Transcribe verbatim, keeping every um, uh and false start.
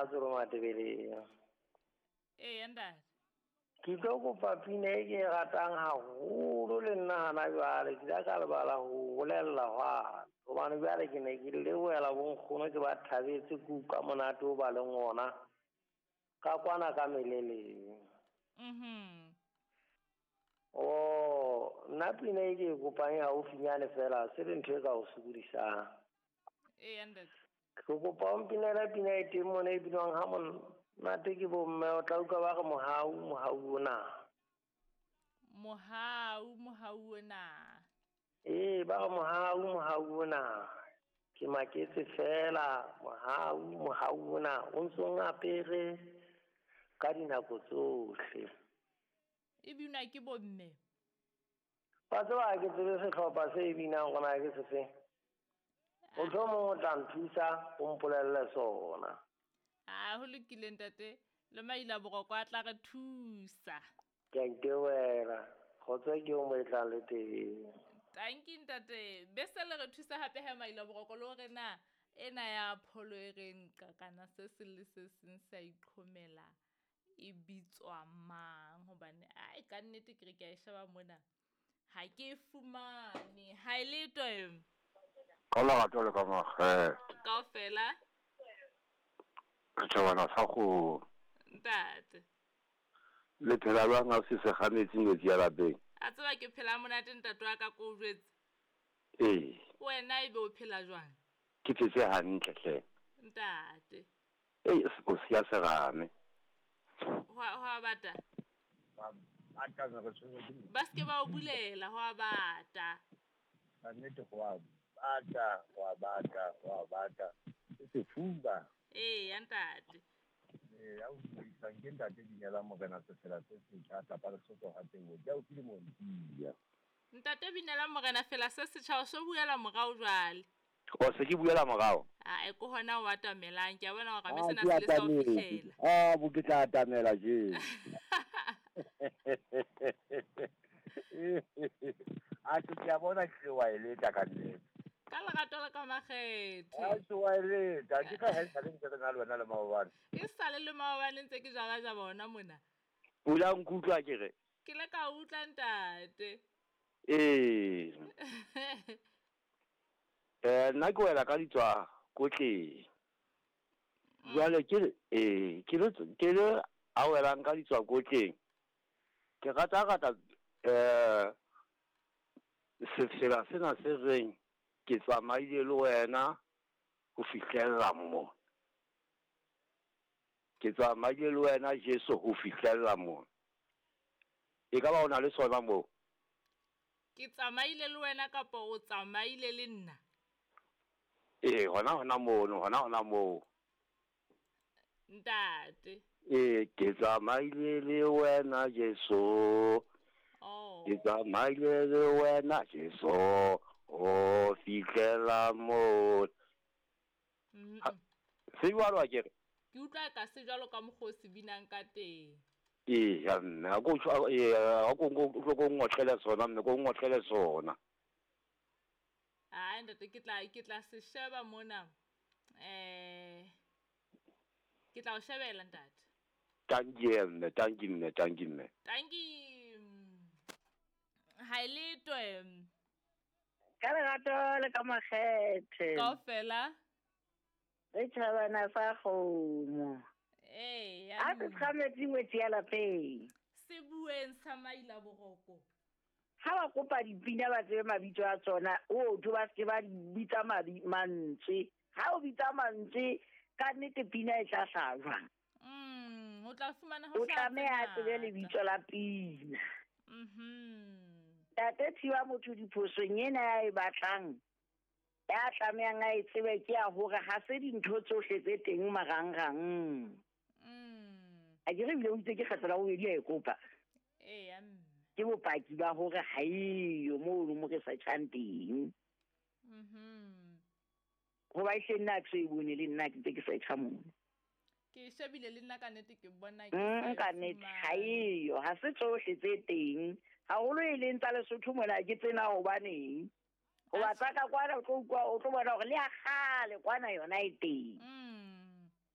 Matsolo Matebeleng. Ee, ntate. Ke tlo kopa pina e ke e ratang haholo le nna hana jwale, ke ile ka lebala ho bolella hwane. Hobane jwale ke ne ke lebohela bonkgono ke ba thabetse ke utlwa monate o ba leng ona ka kwana ka meleleng. Mhm. Oh, nna pina e ke e kopang e haufinyane fela, se le ntho e ka o sokodisang. Ee, ntate. Ke kopa o mpinele pina e teng mona e binwang ha monate ke bomme, o tla utlwa ba re mohau, mohau ona. Mohau, mohau ona. Ee, ba re mohau, mohau ona. Ke maketse fela, mohau, mohau ona. O ntso ngapere ka dinako tsohle. E binwa ke bomme? Wa tseba ha ke tsebe sehlopha se e binang hore na ke sefeng. Mohlomong o tla nthusa o mpolelle sona. Ah, ho lokile ntate, le maila boroko a tla re thusa. Ke a itebohela. Kgotso ke o mo e tlang le teng. Tanki ntate, bese le re thusa hape ha maila boroko le hore na ena ya pholo e re nka kana se seng le se seng sa iqhomela e bitswa mang, hobane ai ka nnete ke re ke a e sheba mona ha ke e fumane. Ha e letwe. Ka lerato le ka makgethe. Kaofela. Setjhabana sa kgomo. Ntate. Le phela jwang ha se se kgametse metsi ya lapeng? A tseba ke phela monate ntate wa ka ko o jwetse. Ee. Wena ebe o phela jwang? Ke phetse hantle hle. Ntate. Ei, o siya serame. Ho a, ho a bata? Ba bata, re tshwerwe ke Ba se ke ba o bulela, ho a bata. Ka nnete ho a bata, ho a bata, ho a bata. Ke sefuba. Ee, ya ntate. Ee, ya o buisang ke ntate Binela Morena Sefela se setjha, tlapa Lesotho ha teng. Ke a utlwile montiya. Ntate Binela Morena fela se setjha, o so buela morao jwale. O se ke buela morao? Ah, e ko hona o atamelang, ke a bona hore Ah, me sena ke se le sa o atametse. fihlela. Ah, bo ke tla atamela je. A ke ke a bona ke wa e leta ka nnete. Ka lerato le ka makgethe. A se wa e leta, ke ka ha e sale ntse re na le wena le maobane. E sale le maobane ntse ke jaba jaba hona mona. Pula nkutlwa ke re. Ke le ka utlwa ntate. Ee. Eh, nna ke wela ka ditswa kotleng. Jwale ke le, eh, ke le, ke le a welang ka ditswa kotleng. Ke rata rata, eh, sefela sena se reng ke tsamaile le wena ho fihlella mo. Ke tsamaile le wena Jesu ho fihlella mo. E ka ba o na le sona moo? Ke tsamaile le wena kapa o tsamaile le nna? Ee, hona hona mono, hona hona moo. Ntate. Ee, ke tsamaile le wena Jesu. Oh. Ke tsamaile le wena Jesu ho fihlela moo. Mm-hmm. Ha, se jwalo a ke re? Ke utlwa ka se jwalo ka mokgwa o se binang ka teng. Ee, ya mme, ha ko utlwa, ee, ha ko nko, utlwe ko ngotlele sona, mme, ko ngotlele sona. Ah, ntate, ke tla, ke tla se sheba mona. Eh, ke tla o shebela ntate. Tanki mme, tanki mme, tanki mme. Tanki. Ha e letwe. Ka lerato le ka makgethe. Kaofela. Re tjhabana sa kgomo. Ee, A se tshwanetse ngwetsi ya lapeng. Se bueng sa maila boroko. Ha ba kopa dipina ba tsebe mabitso a tsona, o tho ba se ba di bitsa mabi-, mantswe. Ha o bitsa mantswe, ka nnete pina e tla hlaha jwang? Mm, o tla fumana ho O tlameha a hlaha tsebe tse lebitso la pina. Mhm. Ntate Thiba motho diphosong ena ya e batlang, ya tlamehang a e tsebe ke ya hore ha se dintho tsohle tse teng marangrang. Mm. A ke re ebile o itse ke kgetlo la bobedi a e kopa. Ee, ya mme. Ke bopaki ba hore ha eyo mono mo re search-ang teng. Mhm. Hoba e hle nna ha ke so e bone le nna ke ntse ke search-a mono. Ke e shebile le nna ka nnete ke bona ke Mm, sa e ka nnete, fumane. ha eyo, ha se tsohle tse teng. Haholo e leng tsa Lesotho mona ke tsena hobaneng. Hoba Atjhe. tsa ka kwana o tlo utlwa, o tlo bona hore le ya kgale kwana yona e teng. Mm.